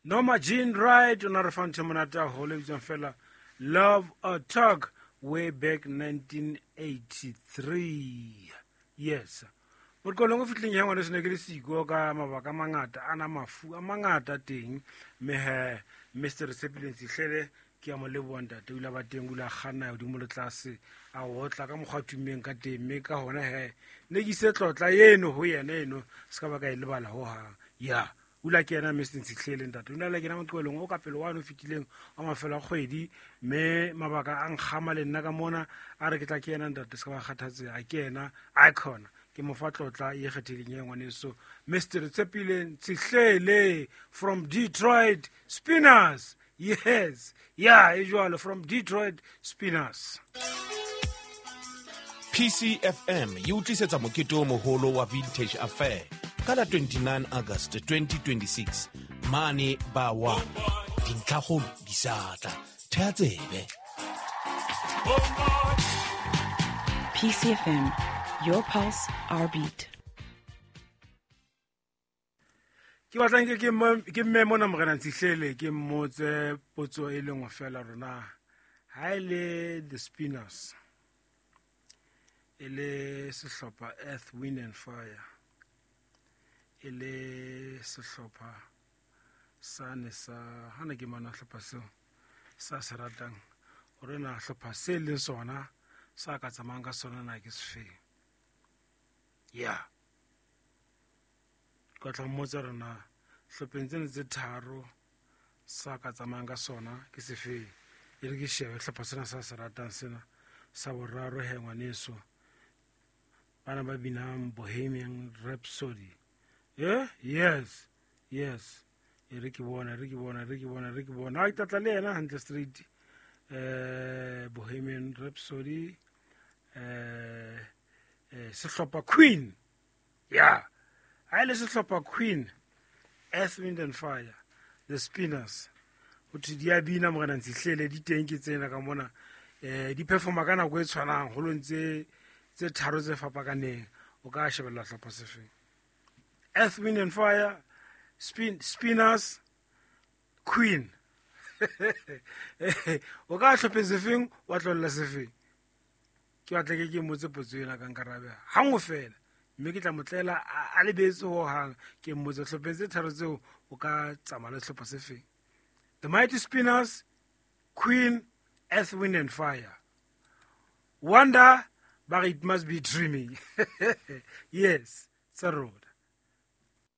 Norma Jean Wright o na re fa ntho e monate haholo e bitswang fela Love Attack way back 1983. Yes. Moqolong o fitlheng ya ngwane sene ke le siko ka mabaka a mangata a na mafu a mangata teng mme he Mr. Sepileng Sihlele ke a mo leboa ntate o ile a ba teng o ile a kganna godimo le tlase a otla ka mokgwa a tummeng ka teng mme ka gona he ne ke ise tlotla eno go yena eno se ka ba ka e lebala hohang ya o ile a kena Mr. Ntshitlhele ntate o ile a kena moqebelong o ka pele wane o fetileng wa mafelo a kgwedi mme mabaka a nkgama le nna ka mona a re ke tla ke ena ntate se ka ba kgathatse a ke ena icon ke mo fa tlotla e kgethileng ye ngwaneso Mr. Tshepile Ntshihlele from Detroit Spinners. Yes, yeah, e jwalo from Detroit Spinners. PCFM e utlisetsa mokete o moholo wa Vintage Affair ka la 29 August 2026 mane ba wa dintlhakgolo di sa tla thea tsebe. PCFM, your pulse, our beat. Ke batlang ke ke mme mona morena Ntshihlele ke mmotse potso e le nngwe fela rona ha e le the Spinners e le sehlopha Earth Wind and Fire e le sehlopha sane sa hana ke mana hlopha seo sa se ratang hore na hlopha se leng sona sa ka tsamayang ka sona na ke sefeng ya ka tla mmotsa rona hlopheng tsena tse tharo sa ka tsamayang ka sona ke sefeng e re ke shebe hlopha sena sa se ratang sena sa boraro he ngwaneso bana ba binang Bohemian Rhapsody. Eh, yes, yes, e re ke bona, re ke bona, re ke bona, re ke bona a tlatla le yena hantle straight. Bohemian Rhapsody, sehlopha Queen, ya ha e le sehlopha Queen, Earth Wind and Fire, the Spinners ho thwe di a bina morena Ntshihlele di teng ke tsena ka mona di performa ka nako e tshwanang holong tse tse tharo tse fapakaneng o ka shebella hlopha sefeng Earth Wind and Fire, Spinners, Queen. O ka hlopheng sefeng wa tlohella sefeng ke batla ke mmotse potso ena ka nkarabe hanngwe fela mme ke tla mo tlela a lebetse hohang ke mmotse hlopheng tse tharo tseo o ka tsamaya le sehlopha sefeng The Mighty Spinners, Queen, Earth, Wind and Fire. Wonder, but it must be dreaming. Yes, tsa rona.